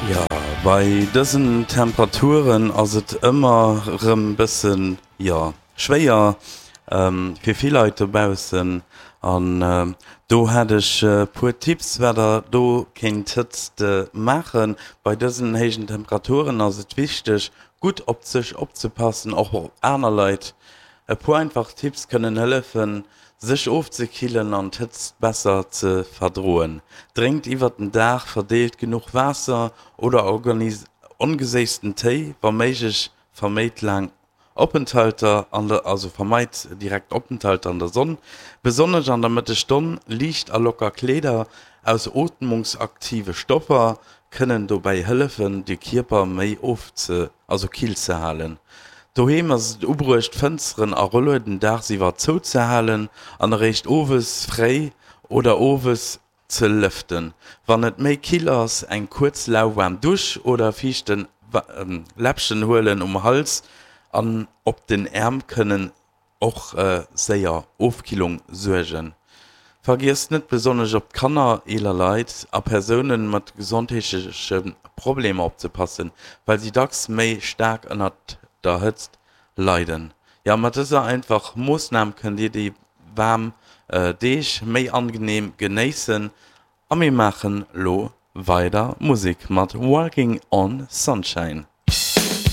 Jo, bei dësen Temperaturen ass et ëmmer rëm bëssen, jo, schwéier fir vill Leit dobaussen. An do hätt ech e puer Tipps, wat der do kéint d'Hëtzt maachen. Bei dësen héijen Temperaturen ass et wichteg, gutt op sech opzepassen, och op aner Leit. E puer einfach Tipps kënnen hëllefen, sech ofzekillen an d'Hëtzt besser ze verdroen. Drénkt iwwert den Dag verdeelt genuch Waasser oder ongeséissten Téi, wa méiglech verméit laang Openthalter an der, also vermeit direkt Openthalter an der Sonn, besonnesch an der Mëttesstonn. Liicht a locker Kleeder aus ootmungsaktive Stoffer kënnen dobäi hëllefen, de Kierper méi ofze, also kill ze halen. Doheem ass et ubruecht, Fënsteren a Rollueden daagsiwwer zouzehalen an eréischt owes fréi oder owes ze lëften. Wann et méi kill ass, eng kuerz lauwaarm Dusch oder fiichten Läppchen huelen um Hals an op den Äerm kënnen och séier Ofkillung suergen. Vergiesst net besonnesch op d'Kanner, eeler Leit a Persoune mat gesondheetleche Problemer opzepassen, well si dacks méi staark ënnert der Hëtzt leiden. Jo, mat dëser einfach Moossnam kënnt Dir déi waarm Deeg méi angeneem genéissen. A mir maachen lo weider Musek mat Walking on Sunshine.